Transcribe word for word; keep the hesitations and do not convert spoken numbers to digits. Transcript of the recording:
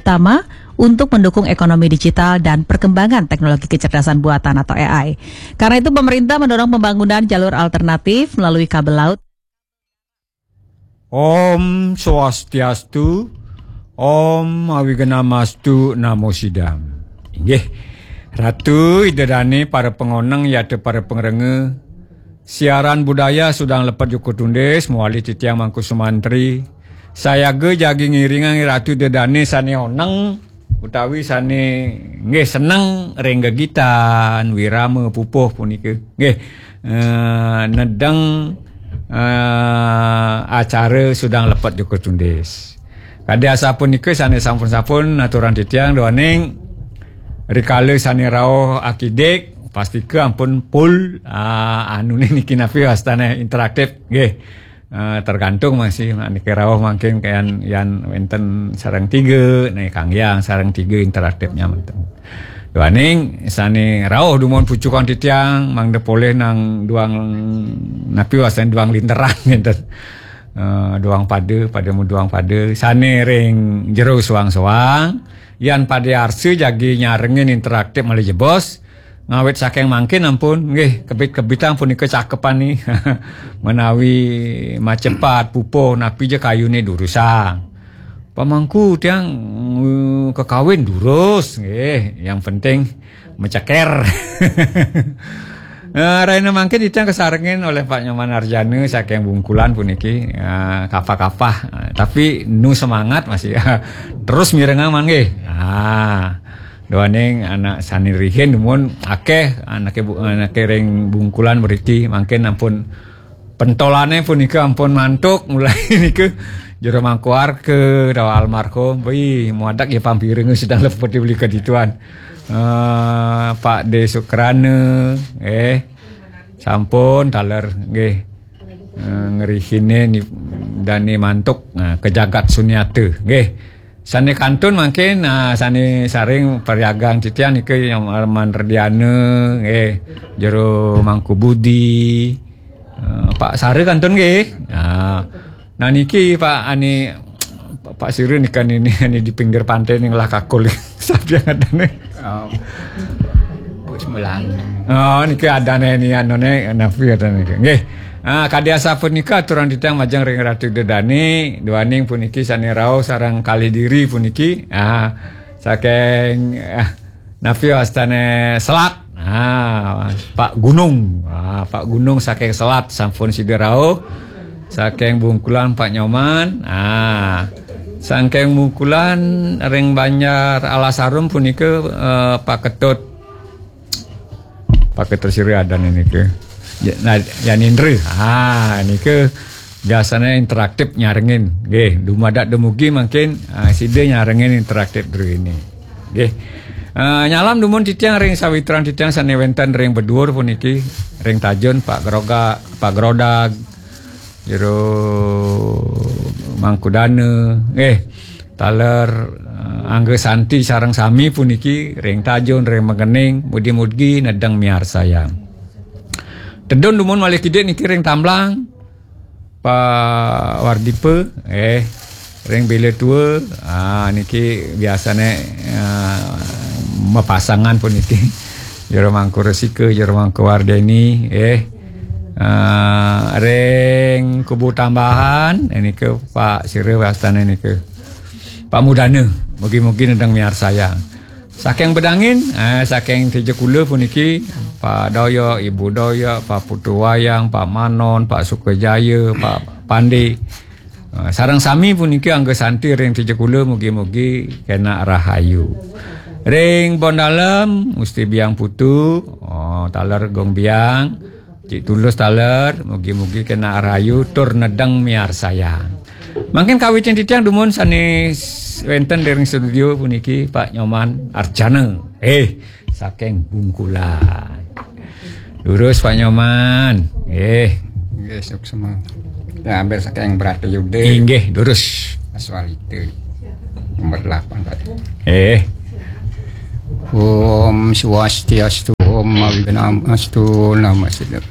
utama untuk mendukung ekonomi digital dan perkembangan teknologi kecerdasan buatan atau A I. Karena itu, pemerintah mendorong pembangunan jalur alternatif melalui kabel laut. Om Swastiastu, Om Awignamastu Namo Sidam. Inggih, Ratu Ida Dane, para pengoneng yata para pengrenge, siaran budaya Sudang Lepet Joko Tundis, mawali titiang Mangku Sumantri, sayaga jagi ngiringang Ratu Ida Dane sane oneng utawi sane nggih seneng ring gegitan wirama pupuh punika. Nggih, eh, nedeng, eh, acara Sudang Lepet Joko Tundis. Kadi asapunika sane sampun-sampun aturang titiang duaning rikala sane rauh akidik, pastika ampun full, ah, anune niki napi wastane interaktif. Nggih. Eh, tergantung masih niki rauh mangkin kayan yan wenten sareng tiga, nih kanggiang sareng tiga interaktifnya menten. Duaning sane rauh dumun pucukan titiang mangda polih nang duang napi wastane duang linteran ngenten. Eh, duang pada, pada mu duang pada. Sane ring jero soang-soang, yan pada arsa jagi nyarengin interaktif malih jebos, ngawit saking mangkin ampun, nggih, kebit-kebitang punika cakepane menawi macepat, pupuh, napi ja kayune durusang. Pamangku tiang, eh, kekawin durus, nggih, yang penting meceker. Eh, raina mangkin titiang kasarengin olih Pak Nyoman Arjana saking Bungkulan puniki, eh, kapah-kapah, eh, tapi nu semangat masih terus mirengang manggih. Ah, duaning anak sane rihin dumun akeh anake bu-, anake ring Bungkulan mriki mangkin ampun pentolane punika ampun mantuk mulai niku jero mangku warga dawa almarhum. Wih, muadak ya pampireng sedang lepet beli kedituan. Eh, Pak De Sukrana, eh, sampun taler nggih. Eh, ngrihine ni dane mantuk, nah, ke jagat sunyata nggih. Sane kantun mangkin, nah, sane saring pariagang titiang nika yang Arman Rdiana nggih, jero Mangku Budi, eh, Pak Sare kantun nggih. Nah, nah niki Pak ani Pak Sire nika nini, ani di pinggir pantai ning lah kakul. Sapi yang ada nih. Oh. Bu Semelan. Oh, niki adane ni anune napi adane niki. Nggih. Ah, kadi asapunika aturang titiang majeng ring Ratu Dedani, duaning puniki sane rauh sareng kalih diri puniki. Ah, saking, ah, napi wastane selat. Ah, Pak Gunung. Ah, Pak Gunung saking selat sampun sida rauh. Saking Bungkulan Pak Nyoman. Ah, saking Bungkulan ring Banjar Alasarum punika, eh, Pak Ketut Pak Ketersiri adan nika. Ya, nah, Yan Indra. Ha, nika biasanya interaktif nyarengin. Nggih, dumadak dumugi mangkin, ah, sida nyarengin interaktif dulu ini. Nggih. Ah, nyalam dumun titiang ring sawitran titiang sane wenten ring beduur puniki, ring Tajun Pak Groga, Pak Grodag, jero Mangkudana, nggih. Taler, eh, Angga Santi sareng sami puniki ring Tajun, ring Mekening, mugi-mugi nedeng miarsayang. Tedun dumun malih kidik niki ring Tamblang, Pak Wardipa, eh, ring Bila Tua, ah, niki biasane, eh, mapasangan puniki. Jero Mangku Resika, Jero Mangku Wardeni, eh. Ah, ring Kubu Tambahan, eh, nika Pak Sira wastane nika. Pak Mudana, mugi-mugi nedeng miarsayang. Saking Bedangin, eh, saking Tejekula puniki, Pak Doyok, Ibu Doyok, Pak Putu Wayang, Pak Manon, Pak Sukajaya, Pak Pandi. Eh, sareng sami puniki Angga Santi ring Tejekula, mugi-mugi kena rahayu. Ring Bondalem, Gusti Biang Putu, oh, taler Gong Biang, Cik Tulus taler, mugi-mugi kena rahayu tur nedeng miarsayang. Mangkin kawitin titiang dumun sane s-, wenten ring studio puniki Pak Nyoman Arjana. Eh, saking Bungkulan. Lurus Pak Nyoman. Eh. Nggih, suksma. Ya, ambil saking Bratayuda. Inggih, lurus. Aswalita. Nomor delapan, Pak. Eh. Om Swastiastu, Om Awignamastu, Namo Siddham.